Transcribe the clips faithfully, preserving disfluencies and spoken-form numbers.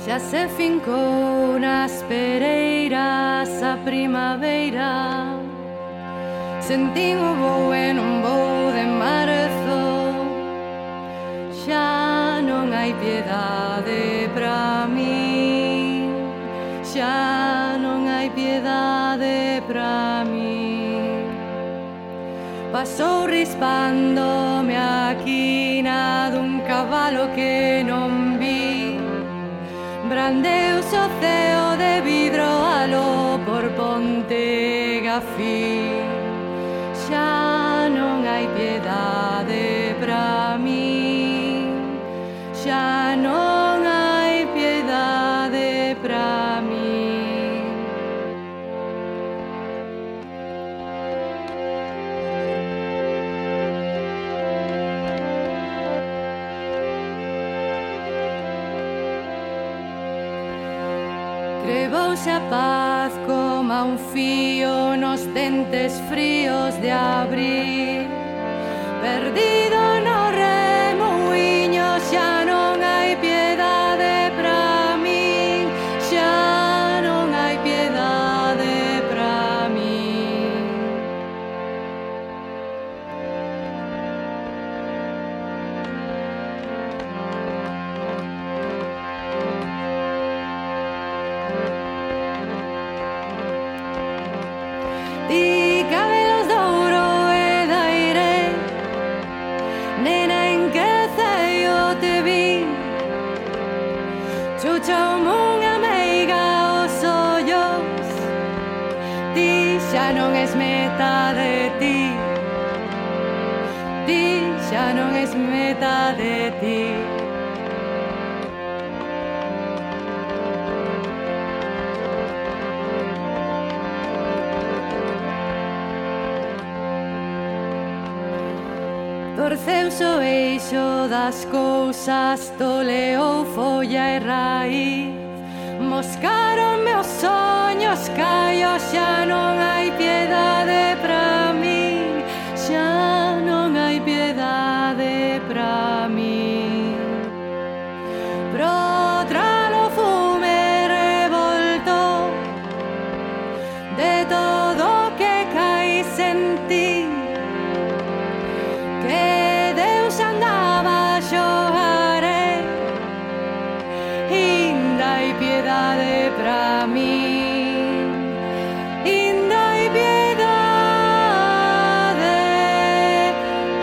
xa se fincou nas pereiras a primavera. Sentín o voo e non vou de marzo. Xa non hai piedade pra mí, xa non hai piedade pra mí. Pasou rispándome a quina dun cabalo que non vi. Brandeuse o ceo de vidro aló por Ponte Gafí. Xa non hai piedade pra mí, xa non hai piedade pra mí. Crevouse a paz coma un fío nos dentes fríos de abril. Perdido no remuiño, xa non hai piedade pra min, xa non hai piedade pra min. Ti cabelos de ouro e de aire, nena, en que ceio te vi. Chucha unha meiga os ollos, ti xa non es meta de ti, ti xa non es meta de ti. Torceuse o eixo das cousas, toleou folla e raíz. Moscaronme os soños, caio, xa non hai piedade pra min, xa non hai piedade pra min. Pro tralo fume revolto de todo que cai sen ti, que Deus andaba a xogare, inda hai piedade pra min, inda hai piedade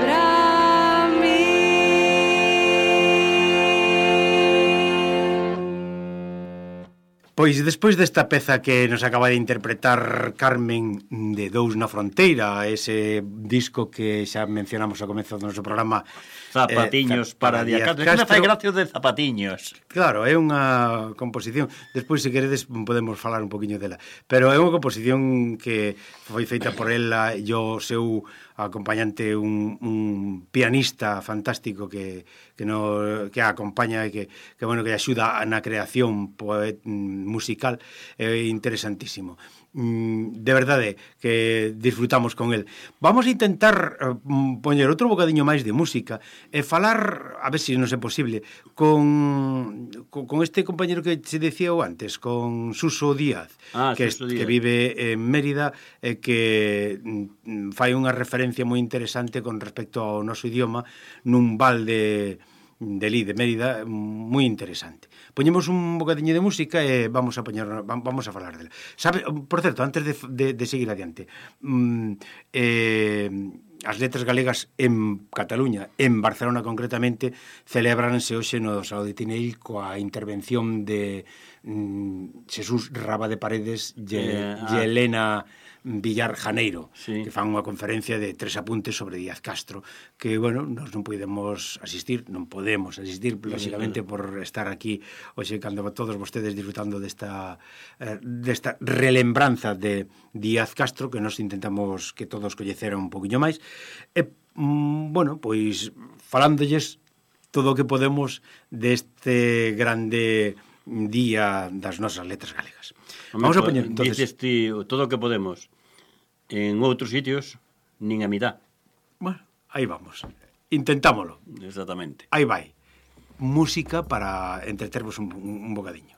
pra min. Pois despois desta peza que nos acaba de interpretar Carmen de Dous na Fronteira, ese disco que xa mencionamos ao comezo do noso programa, Zapatiños eh, para Díaz Castro. Castro. Me fai gracia de Zapatiños. Claro, é unha composición, despois se queredes podemos falar un poquinho dela, pero é unha composición que foi feita por ela e o seu acompañante, un, un pianista fantástico que que no que a acompaña e que que bueno, que axuda na creación poet, musical, é interesantísimo. De verdade que disfrutamos con el. Vamos a intentar uh, poñer outro bocadiño máis de música e falar, a ver se non é posible, con, con, con este compañero que se decía antes, con Suso Díaz, ah, que, Suso Díaz. que vive en Mérida e que mm, fai unha referencia moi interesante con respecto ao noso idioma nun val de de Lí, de Mérida, moi interesante. Poñemos un bocadiño de música e vamos a poñer, vamos a falar dela. Sabe, por certo, antes de, de, de seguir adiante, mm, eh, as letras galegas en Cataluña, en Barcelona concretamente, celebranse hoxe no Salón de Tineil coa intervención de mm, Xesús Raba de Paredes e eh, ah. Elena Villar Janeiro, sí, que fan unha conferencia de tres apuntes sobre Díaz Castro, que, bueno, nós non podemos asistir, non podemos asistir, lógicamente, por estar aquí hoxe cando todos vostedes disfrutando desta, eh, desta relembranza de Díaz Castro, que nós intentamos que todos coñeceran un poquinho máis. E, mm, bueno, pois, falándolles todo o que podemos deste grande día das nosas letras galegas. Vamos a poñer, entonces... Dices ti, todo o que podemos. En outros sitios, nin a mitad. Bueno, aí vamos. Intentámolo. Exactamente. Aí vai. música para entretervos un, un bocadiño.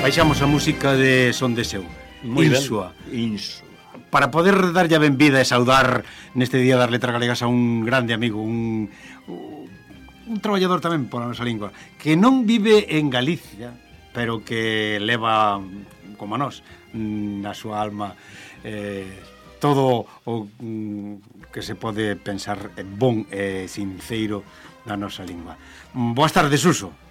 Baixamos a música de Son de Seu, Insua. Insua. Para poder darlle a benvida e saudar neste Día das Letras Galegas a un grande amigo, un, un traballador tamén pola nosa lingua, que non vive en Galicia, pero que leva, como a nós, na súa alma eh, todo o mm, que se pode pensar bon e sinceiro na nosa lingua. Boas tardes, Suso.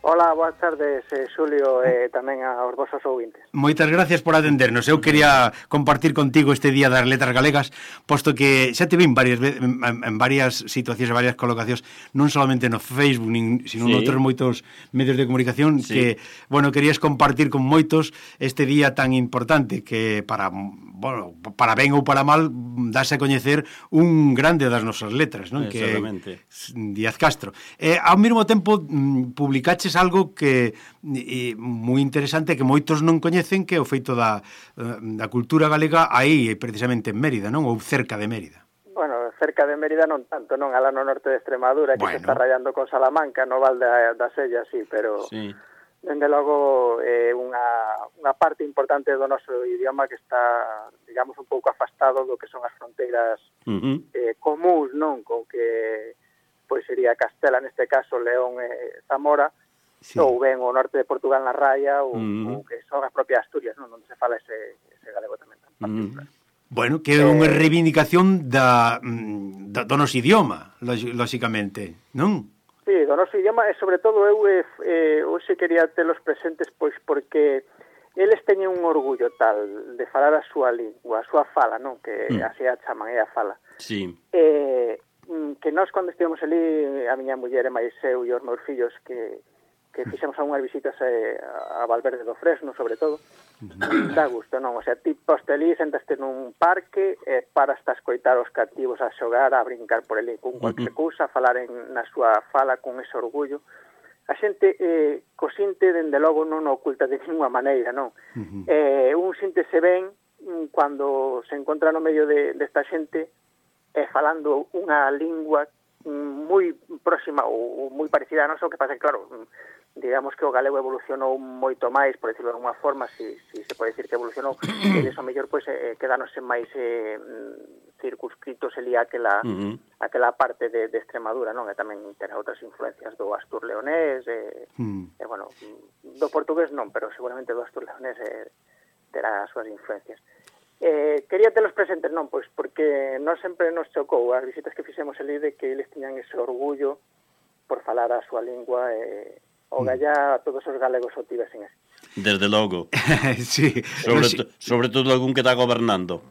Hola, boas tardes, eh, Xulio, e eh, tamén aos vosos ouvintes. Moitas gracias por atendernos. Eu quería compartir contigo este Día das Letras Galegas, posto que xa te vin varias veces, en, en varias situacións e varias colocacións, non solamente no Facebook, nin, sino sí. noutros moitos medios de comunicación, sí. que, bueno, querías compartir con moitos este día tan importante que para, bueno, para ben ou para mal, dase a coñecer un grande das nosas letras, non? Que é Díaz Castro. E, ao mesmo tempo, publicaches algo que é moi interesante, que moitos non coñecen, que é o feito da, da cultura galega aí, precisamente en Mérida, non? Ou cerca de Mérida. Bueno, cerca de Mérida non tanto, non? Alá no norte de Extremadura, que bueno. se está rayando con Salamanca, no Val da, da Sella, sí, pero... Sí. Dende logo, é eh, unha, unha parte importante do noso idioma que está, digamos, un pouco afastado do que son as fronteiras uh-huh. eh, comuns, non? Con que, pois, sería Castela, neste caso, León e Zamora, sí. ou ben o norte de Portugal na Raya, ou, uh-huh. ou que son as propias Asturias, non? Onde se fala ese, ese galego tamén tan particular. Uh-huh. Bueno, que é unha reivindicación da, da, do noso idioma, lóxicamente, non? Sí, do noso idioma, e sobre todo eu eh, hoxe quería telos presentes, pois porque eles teñen un orgullo tal de falar a súa lingua, a súa fala, non? Que mm. así a chaman, é a fala. Sí. Eh, que nós, cando estivemos ali, a miña muller e máis eu e os meus fillos, que, que fixemos algunhas visitas a, a Valverde do Fresno, sobre todo, dá gusto, non? O sea, ti poste ali, sentaste nun parque, e paras a escoitar os cativos a xogar, a brincar por ali con cualquier cousa, a falar en, na súa fala con ese orgullo. A xente, eh, co sinte, dende logo, non o oculta de ninguna maneira, non? Uh-huh. Eh, un síntese ben cando se encontra no medio de, desta xente eh, falando unha lingua moi próxima ou moi parecida a nosa, o que pasa que, claro, digamos que o galego evolucionou moito máis, por decirlo de alguma forma, si, si se pode dicir que evolucionou, e deso mellor pois, eh, quedándose máis eh, circunscritos ali aquela, uh-huh. aquela parte de, de Extremadura, non? E tamén ten outras influencias do Astur leonés, e, uh-huh. e bueno, do portugués non, pero seguramente do Astur leonés eh, terá as súas influencias. Eh, quería telos presentes, non? Pois porque non sempre nos chocou as visitas que fixemos ali de que eles tiñan ese orgullo por falar a súa lingua e o gallá a todos os galegos o tivesen así. Desde logo. Sí. Sobre, sí. To, sobre todo algún que está gobernando.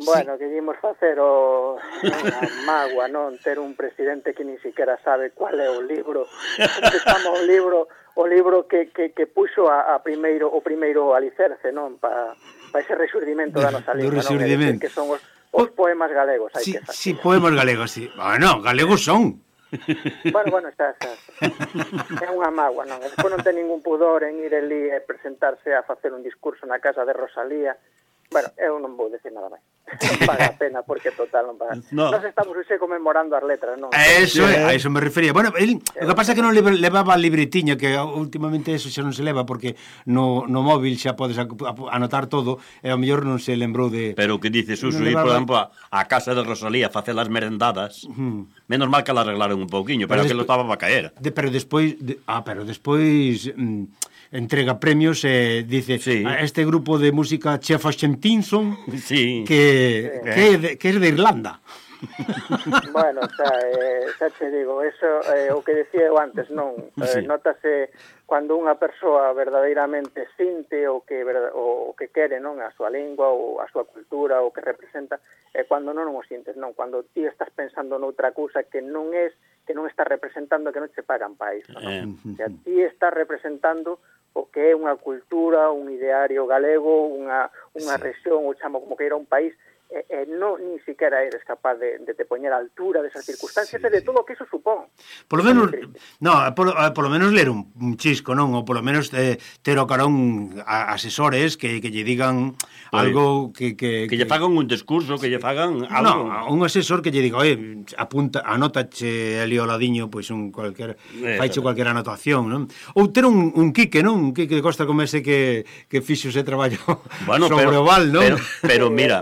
Bueno, sí. Que dimos facer o unha magua, non? Ter un presidente que ni siquiera sabe cuál é o libro. Que chama o libro o libro que, que, que puxo a, a primeiro o primeiro alicerce, non? Pa, pa ese resurdimento da nosa lingua, non? Que son os, os poemas galegos. Hai sí, que facer. Sí, poemas galegos, sí. Bueno, galegos son. Bueno, bueno, está, está, está. É unha mágoa, non? Despois non ten ningún pudor en ir ali e presentarse a facer un discurso na casa de Rosalía. Bueno, eu non vou decir nada máis. Non paga a pena, porque total non paga. No. Nos estamos hoxe conmemorando as letras, non? Eso, sí, a eso me refería. Bueno, el, o que pasa é que non levaba a libretiña, que últimamente eso xa non se leva, porque no, no móvil xa podes anotar todo, e ao mellor non se lembrou de... Pero que dices, Suso, no ir, por exemplo, a, a casa de Rosalía a facer as merendadas, uh-huh. menos mal que la arreglaron un pouquiño, pero, pero que lo estaba para caer. De, pero despois... De, ah, pero despois... Mm, entrega premios e eh, dice sí. A este grupo de música Chef Ashentinson sí. que, sí. que, é de, que é de Irlanda. Bueno, xa, eh, xa te digo, eso eh, o que decía eu antes, non? Eh, sí. Notase cando unha persoa verdadeiramente sinte o que o, o que quere, non? A súa lingua ou a súa cultura, o que representa, e eh, cando non o sintes, non? Cando ti estás pensando noutra cousa que non é que non estás representando, que non te pagan para iso, non? Eh. O sea, ti estás representando o que é unha cultura, un ideario galego, unha, unha sí. rexión, ou chamo como que era un país, e, e non ni siquiera eres capaz de, de te poñer a altura desas circunstancias sí, e de sí. todo o que iso supón. Por lo menos, no, por, por lo menos ler un, un chisco, non? Ou por lo menos eh, ter o carón a, asesores que, que lle digan pues, algo que, que... Que lle fagan un discurso, que lle fagan algo. No, un asesor que lle diga, oye, apunta, anótache ali ao ladiño, pois un cualquier, eh, faiche cualquier anotación, non? Ou ter un, un quique, non? Un quique de Costa como ese que, que fixo ese traballo bueno, sobre pero, o val, non? Pero, pero mira...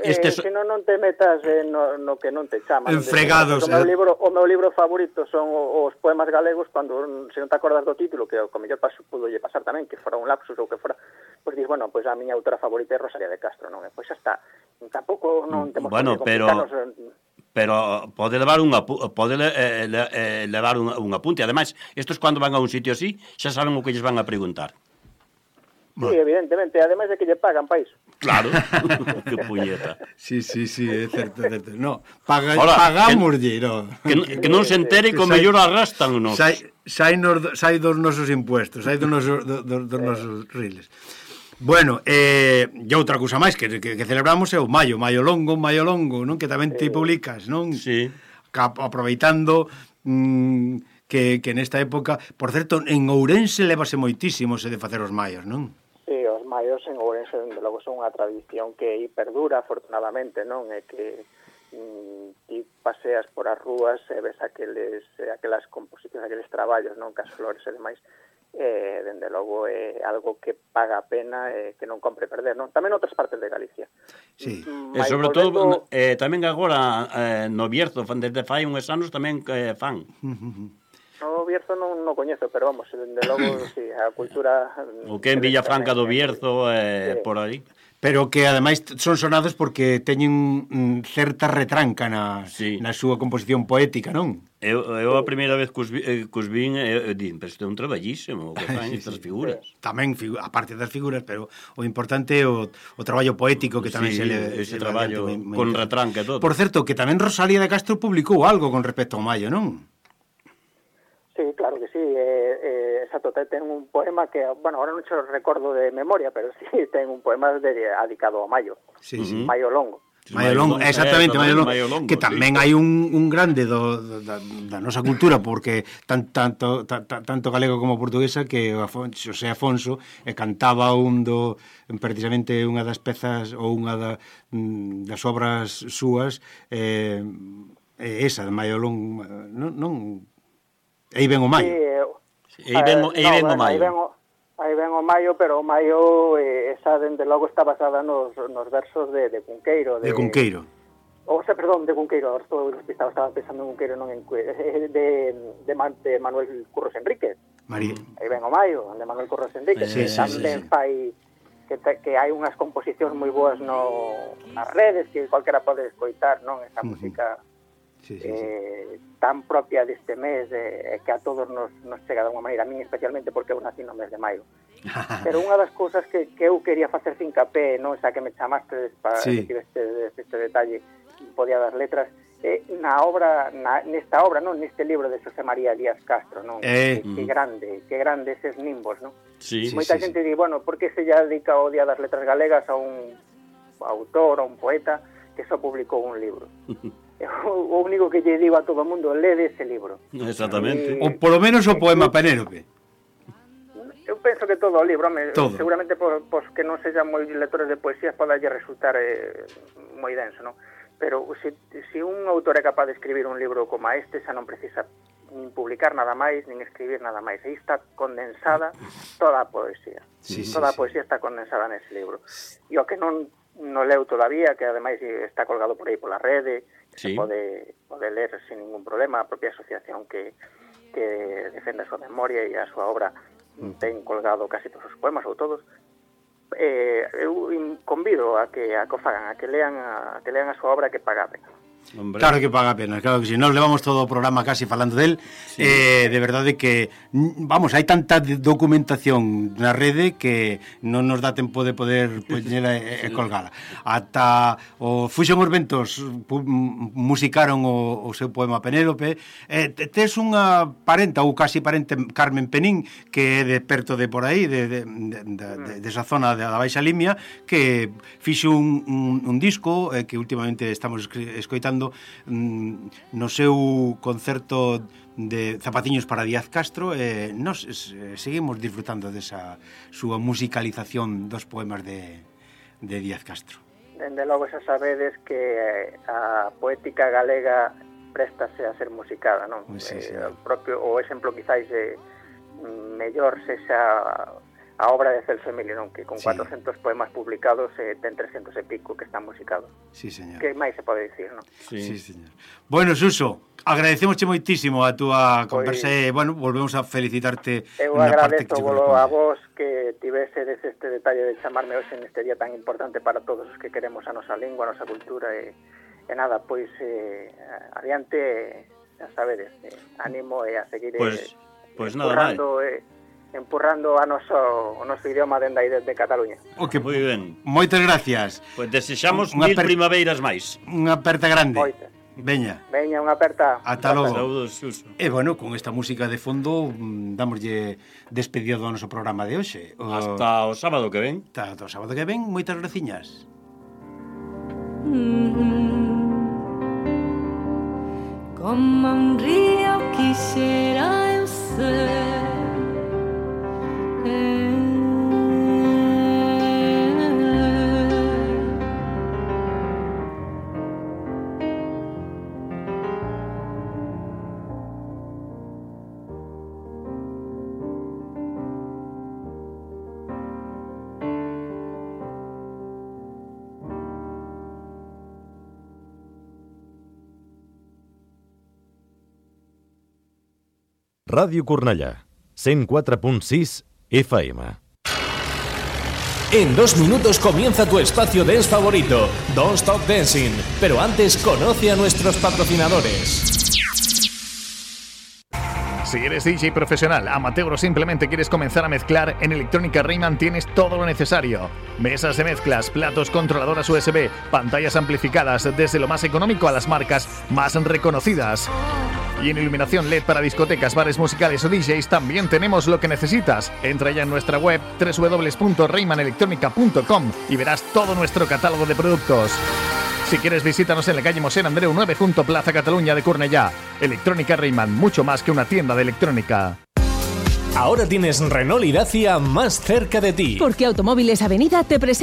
Este eh, so... que non, non te metas eh, no, no que non te chama. En fregados. O meu, libro, o meu libro favorito son os poemas galegos, cando se non te acordas do título, que o mellor paso pudo lle pasar tamén, que fora un lapsus ou que fora, pois dis, bueno, pois a miña autora favorita é Rosalía de Castro, non? E pois xa está. Tampouco non temos bueno, que pero pero pode levar un pode eh, eh, levar un, un apunte. Ademais, estos cando van a un sitio así, xa saben o que lles van a preguntar. Sí, evidentemente, ademais de que lle pagan para iso. Claro, que puñeta. Sí, sí, sí, é certo, é certo. No, paga, pagamos lle, no. Que, que non se entere que o mellor arrastan nos. Sai, sai, nos, sai dos nosos impuestos, sai dos nosos, do, do, dos nosos riles. Bueno, eh, e outra cousa máis que, que, que celebramos é o Maio, Maio Longo, Maio Longo, non? Que tamén te publicas, non? Sí. Aproveitando... Mmm, que, que nesta época, por certo, en Ourense levase moitísimo se de facer os maios, non? Sí, os maios en Ourense, dende logo, son unha tradición que perdura, afortunadamente, non? É que mm, ti paseas por as rúas e ves aqueles, aquelas composicións, aqueles traballos, non? Cas flores e demais, eh, dende logo é algo que paga a pena e que non compre perder, non? Tamén outras partes de Galicia. Sí, mm, e sobre todo, eh, tamén agora eh, no Bierzo, desde fai uns anos tamén eh, fan. O Bierzo non, non coñezo, pero vamos, dende logo, sí, a cultura... O que en Villafranca do Bierzo, eh, sí. por aí. Pero que, ademais, son sonados porque teñen mm, certa retranca na, sí. na súa composición poética, non? Eu, eu a primeira vez que os, eh, que os vin, eu, eu din, pero isto é un traballísimo, o que fan sí, estas sí. figuras. Tamén, figu a parte das figuras, pero o importante é o, o traballo poético que tamén sí, se le... ese se traballo le con retranca e todo. Por certo, que tamén Rosalía de Castro publicou algo con respecto ao Maio, non? Sí, claro que sí, eh, eh, exacto, ten un poema que, bueno, ahora non se recordo de memoria, pero sí, ten un poema de, dedicado ao Maio, sí, sí. Maio Longo. Maio Longo, exactamente, Maio Longo, Maio Longo que tamén sí. hai un, un grande do, do, da, da nosa cultura, porque tan, tanto, ta, ta, tanto galego como portuguesa, que o Afonso, Xosé Afonso eh, cantaba un do, precisamente unha das pezas ou unha da, das obras súas, eh, esa de Maio Longo, non... non Aí ven o Maio. Sí, E aí ven, eh, aí ven no, o maio. Aí ven o, aí ven o maio, pero o maio eh, esa dende logo está basada nos, nos versos de, de Cunqueiro. De, de Cunqueiro. O sea, perdón, de Cunqueiro, ahora estou despistado, estaba pensando en Cunqueiro, non en de, de, de, Man, de Manuel Curros Enríquez. María. Aí ven o maio, de Manuel Curros Enríquez, sí, que sí, tamén sí, sí. fai que, te, que hai unhas composicións moi boas no, nas redes, que cualquera pode escoitar, non? Esa uh-huh. música sí, sí, eh, sí. tan propia deste mes, eh, que a todos nos, nos chega de unha maneira, a mí especialmente porque eu nací no mes de maio. Pero unha das cousas que, que eu quería facer fincapé, non? Esa que me chamaste para sí. decir este, este detalle, podía dar letras, eh, na obra, na, nesta obra, non? Neste libro de Xosé María Díaz Castro, non? Eh. Que, que grande, que grande eses nimbos, non? Sí, Moita sí, xente sí. di, bueno, por que se lla dedica o Día das Letras Galegas a un autor, a un poeta que só publicou un libro? O único que lle digo a todo o mundo, lede ese libro. Exactamente. E, ou polo menos o poema Penélope. Eu penso que todo o libro, me, todo. seguramente por, por que non sexan moi lectores de poesías podalle resultar eh, moi denso, non? Pero se, se un autor é capaz de escribir un libro como este, xa non precisa nin publicar nada máis, nin escribir nada máis. Aí está condensada toda a poesía. Sí, toda sí, a poesía sí. está condensada nese libro. E o que non no leu todavía, que ademais está colgado por aí pola rede, sí. se pode, pode ler sin ningún problema, a propia asociación que, que defende a súa memoria e a súa obra ten colgado casi todos os poemas ou todos. Eh, eu convido a que a que o fagan, a que lean a, a que lean a súa obra, que paga a pena. Hombre. Claro que paga a pena, claro que si. Nos levamos todo o programa casi falando del, sí. eh, de verdade que, vamos, hai tanta documentación na rede que non nos dá tempo de poder poñela e, e colgala. Ata o Fuxen os Ventos musicaron o, o seu poema Penélope. Eh, tes unha parenta, ou casi parente, Carmen Penín, que é de perto de por aí, de, de, de, de, de esa zona da Baixa Limia, que fixo un, un, un disco eh, que últimamente estamos escoitando no seu concerto de Zapatiños para Díaz Castro. Eh, nos eh, seguimos disfrutando desa súa musicalización dos poemas de, de Díaz Castro. Dende logo xa sabedes que a poética galega préstase a ser musicada, non? Sí, sí. Eh, o propio o exemplo quizáis eh, mellor sexa a obra de Celso Emilio, non? Que con sí. cuatrocentos poemas publicados eh, ten trescentos e pico que están musicados. Sí, señor. Que máis se pode dicir, non? Sí, sí señor. Bueno, Suso, agradecemosche moitísimo a túa conversa e, bueno, volvemos a felicitarte. Eu agradezo a vos que tivesedes este detalle de chamarme hoxe neste día tan importante para todos os que queremos a nosa lingua, a nosa cultura e, e nada, pois eh, adiante, xa sabedes, eh, ánimo e a seguir pues, eh, pues nada eh, empurrando a noso, o noso idioma dende aí desde Cataluña. Ok, moi ben. Moitas gracias. Pois pues desexamos mil per... primaveiras máis. Unha aperta grande. Moitas. Veña. Veña, unha aperta. Ata logo. Saúdos, Suso. E bueno, con esta música de fondo damoslle despedida do noso programa de hoxe. O... Hasta o sábado que ven. Hasta o sábado que ven. Moitas graciñas. Como un río quixera eu ser, Ràdio Cornellà, cent quatre punt sis F M. En dos minutos comienza tu espacio dance favorito, Don't Stop Dancing. Pero antes, conoce a nuestros patrocinadores. Si eres D J profesional, amateur o simplemente quieres comenzar a mezclar, en Electrónica Rayman tienes todo lo necesario. Mesas de mezclas, platos, controladoras U S B, pantallas amplificadas, desde lo más económico a las marcas más reconocidas. Y en iluminación L E D para discotecas, bares musicales o D Js también tenemos lo que necesitas. Entra ya en nuestra web doble u doble u doble u punto rayman electronica punto com y verás todo nuestro catálogo de productos. Si quieres, visítanos en la calle Mosén Andreu nueve junto a Plaza Cataluña de Cornellá. Electrónica Rayman, mucho más que una tienda de electrónica. Ahora tienes Renault y Dacia más cerca de ti. Porque Automóviles Avenida te presenta